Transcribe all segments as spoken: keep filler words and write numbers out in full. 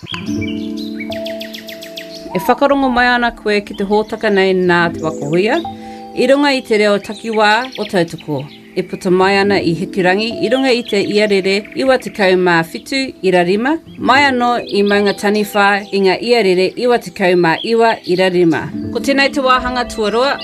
E whakarongo mai ana koe ki te hōtaka nei nā Te Waka Huia, i runga i te reo takiwā o Tautoko. E puta mai ana i Hikurangi i runga i te iarere iwa tekau mā whitu ira rima, mai anō i Maunga Taniwha i ngā iarere iwa tekau mā iwa ira rima. Ko tēnei te wāhanga tuarua,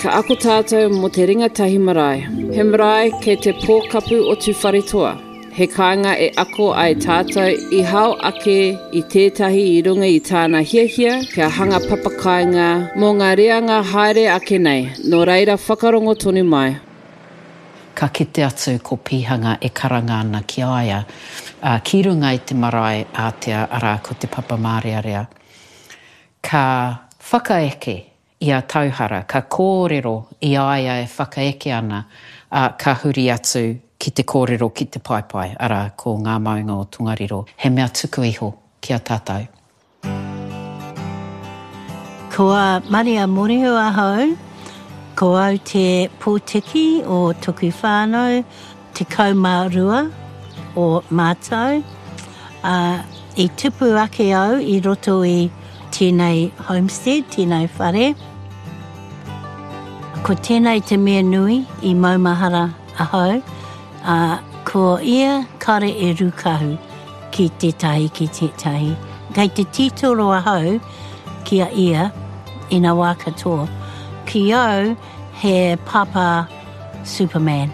ka ako tātou mō te ringatahi marae. He marae kei te pōkapu o Tūwharetoa. He kāinga e ako ai tātou i hao ake i tētahi i runga i tāna hiahia kia hanga papakāinga mō ngā reanga haere ake nei, nō reira whakarongo tonu mai. Ka kite atu ko Pihanga e karanga ana ki a ia, ā, ki runga i te marae ātea, arā, ko Te Papamārearea. Ka whakaeke i a Tauhara, ka kōrero i a ia e whakaeke ana, ā, ka huri atu ki te kōrero ki te paepae, arā, ko ngā maunga o Tongariro, he mea tuku iho ki a tātou. Ko a Maria Morehu ahau, ko au te pōtiki o toku whānau, tekau mā rua o mātou. Ā, i tupu ake au i roto i tēnei homestead, tēnei whare. Ko tēnei te mea nui i maumahara ahau, ā, ko ia kare e rūkahu ki tētahi, ki tētahi. Kei te titiro ahau ki a ia i ngā wā katoa. Ki au, he papa Superman.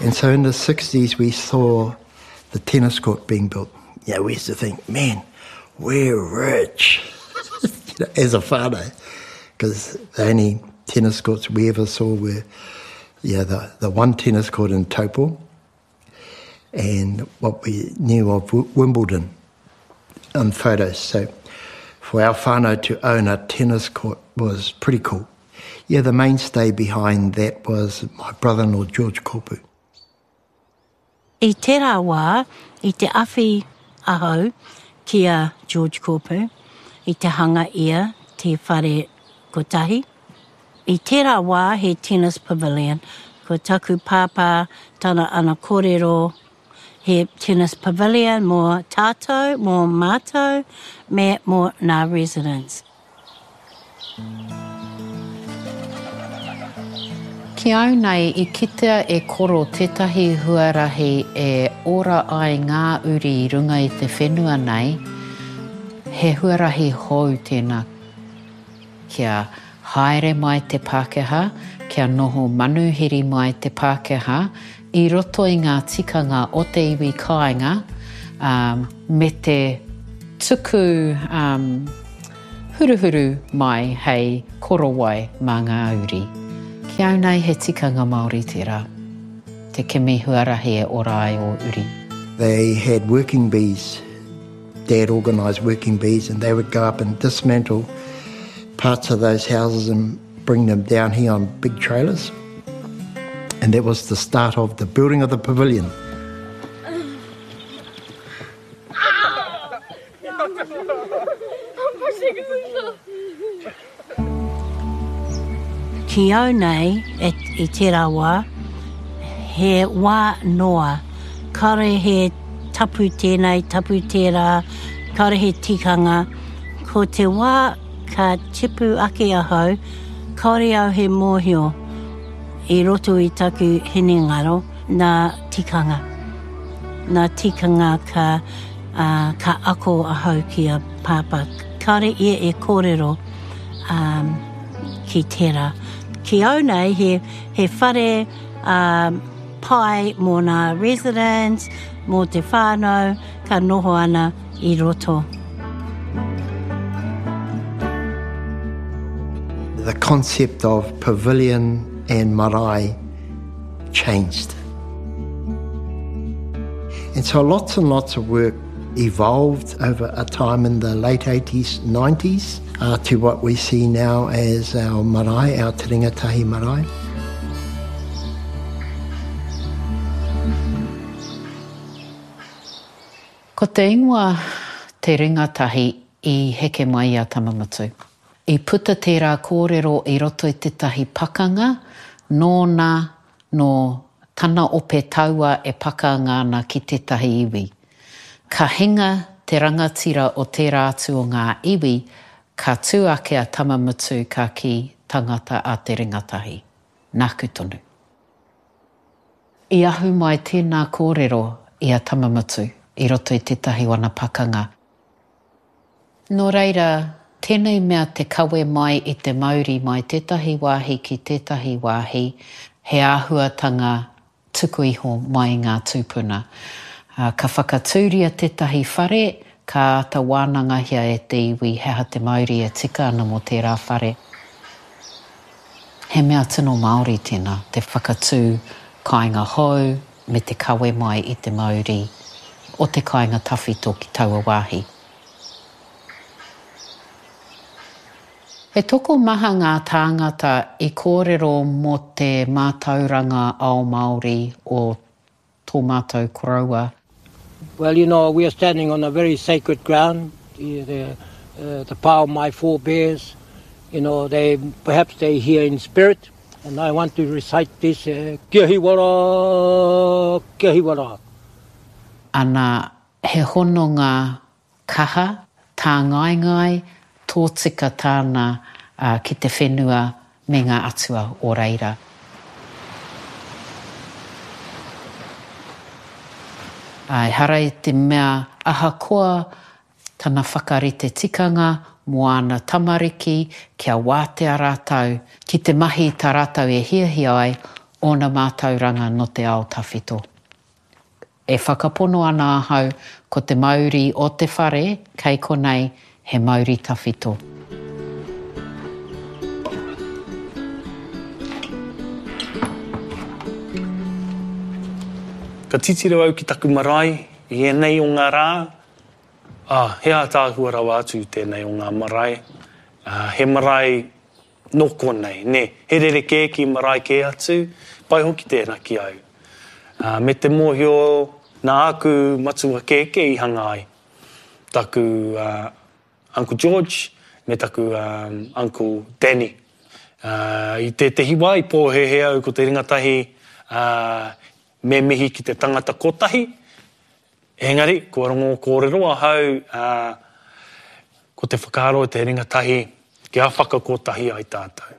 And so in the sixties we saw the tennis court being built. You know, we used to think, man, we're rich, you know, as a whānau, 'cause the only tennis courts we ever saw were yeah, the, the one tennis court in Taupo and what we knew of W-, Wimbledon on photos. So for our whānau to own a tennis court was pretty cool. Yeah, the mainstay behind that was my brother-in-law, George Kopu. I tērā wā, i te awhi ahau ki a George Kopu, i te hanga ia te whare kotahi. I tērā wā he tennis pavilion. Ko taku pāpā tana ana kōrero he tennis pavilion mō tātou, mō mātou, me mō ngā residents. Ki au nei, i kitea e koro tētahi huarahi e ora ai ngā uri i runga i te whenua nei, he huarahi hou tēnā. Kia haere mai te Pākehā, kia noho manuhiri mai te Pākehā, i roto i ngā tikanga o te iwi kāinga, um, me te tuku, um, huruhuru mai hei korowai mā ngā uri. Ki au nei he tikanga Māori tērā, te kimi huarahi e ora ai o uri. They had working bees. Dad organised working bees and they would go up and dismantle parts of those houses and bring them down here on big trailers. And that was the start of the building of the pavilion. Ki au nei, e, i tērā wā, he wā noa. Kāore he tapu tēnei, tapu tērā, kāore he tikanga. Ko te wā ka tipu ake ahau, kāore au he mōhio i roto i taku hinengaro nā tikanga. Nā tikanga ka, uh, ka ako ahau ki a pāpā. Kāore ia e kōrero, um, ki tērā. Ki au nei, he, he whare, um, pai mō ngā residents, mō te whānau, ka noho ana i roto. The concept of pavilion and marae changed. And so lots and lots of work evolved over a time in the late eighties, nineties, uh, to what we see now as our marae, our Te Ringatahi marae. Ko te ingoa Te Ringatahi i heke mai i a Tamamutu. I puta tērā kōrero i roto i tētahi pakanga, Nōna, nō tana ope taua e pakanga ana ki tētahi iwi. Ka hinga te rangatira o tērā atu o ngā iwi, ka tū ake a Tamamutu ka kī tangata a te ringatahi. Nāku tonu. I ahu mai tēnā kōrero i a Tamamutu i roto i tētahi wana pakanga. Nō reira, tēnei mea te kawe mai i te mauri mai tētahi wāhi ki tētahi wāhi, he āhuatanga tuku iho mai i ngā tūpuna. Ka whakatūria tētahi whare, ka āta wānangahia e te iwi he aha te mauri e tika ana mō tērā whare. He mea tino Māori tēnā, te whakatū kāinga hou me te kawe mai i te mauri o te kāinga tawhito ki taua wāhi. He tokomaha ngā tāngata i kōrero mō te mātauranga ao Māori o tō mātou koroua. Well, you know, we are standing on a very sacred ground, the, the, uh, the power of my forebears, you know, they, perhaps they here in spirit, and I want to recite this, uh, Kia hiwara, kia hiwara. Ana, he hononga kaha, tāngaengae, tōtika tāna uh, ki te whenua me ngā atua o reira. Ehara i te mea ahakoa tana whakarite tikanga mō āna tamariki kia wātea rātou ki te mahi tā rātou e hiahia ai ōna mātauranga no te ao tawhito. E whakapono ana ahau ko te mauri o te whare kei konei he mauri tawhito. Ka titiro au ki taku marae i ēnei o ngā rā. Ah, he ātaahua rawa atu tēnei o ngā marae. Ah, he marae nō konei, nē. He rerekē ki marae kē atu, pai hoki tēnā ki au. Ah, me te mōhio nā aku matua kēkē i hanga ai. Taku uh, Uncle George me taku um, Uncle Danny. Uh, i tētehi wā i pōhēhē au ko te ringatahi uh, me mihi ki te tangata kotahi. Engari, kua rongo kōrero ahau uh, ko te whakaaro o te ringatahi kia whakakotahi ai tātou.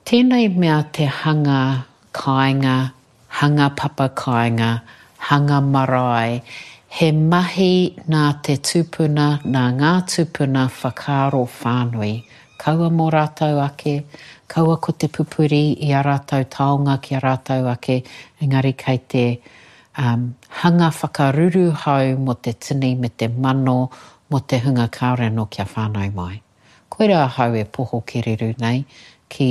Tēnei mea te hanga kāinga, hanga papa kāinga, hanga marae, he mahi nā te tūpuna, nā ngā tūpuna whakaaro whānui. Kaua mō rātou ake, kaua ko te pupuri i a rātou taonga ki a rātou ake, engari kei te um, hanga whakaruruhau mō te tini me te mano mō te hunga kāore anō kia whānau mai. Koira ahau e poho kereru nei ki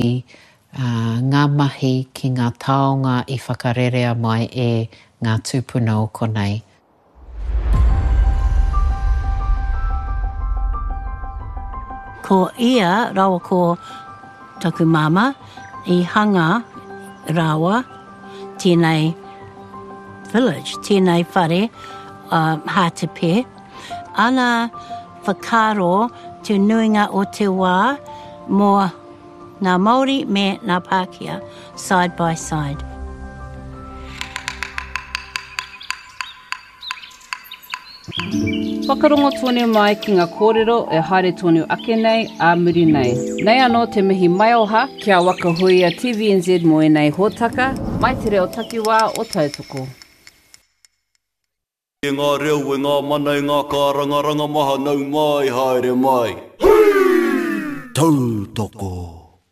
uh, ngā mahi, ki ngā taonga i whakarerea mai e ngā tūpuna o konei. Ko ia rawa ko taku māma i hanga rawa tēnei village, tēnei whare, uh, Hātepe. Ana whakaaro te nuinga o te wā mō ngā Māori me ngā Pākehā, side by side. Whakarongo tonu mai ki ngā kōrero e haere tonu ake nei a muri nei. Nei anō te mihi maioha kia Waka Huia T V N Z mō ēnei hōtaka, mai te reo takiwā o Tautoko. E ngā reo, e ngā mana, e ngā kārangaranga maha, nau mai, haere mai. Tautoko!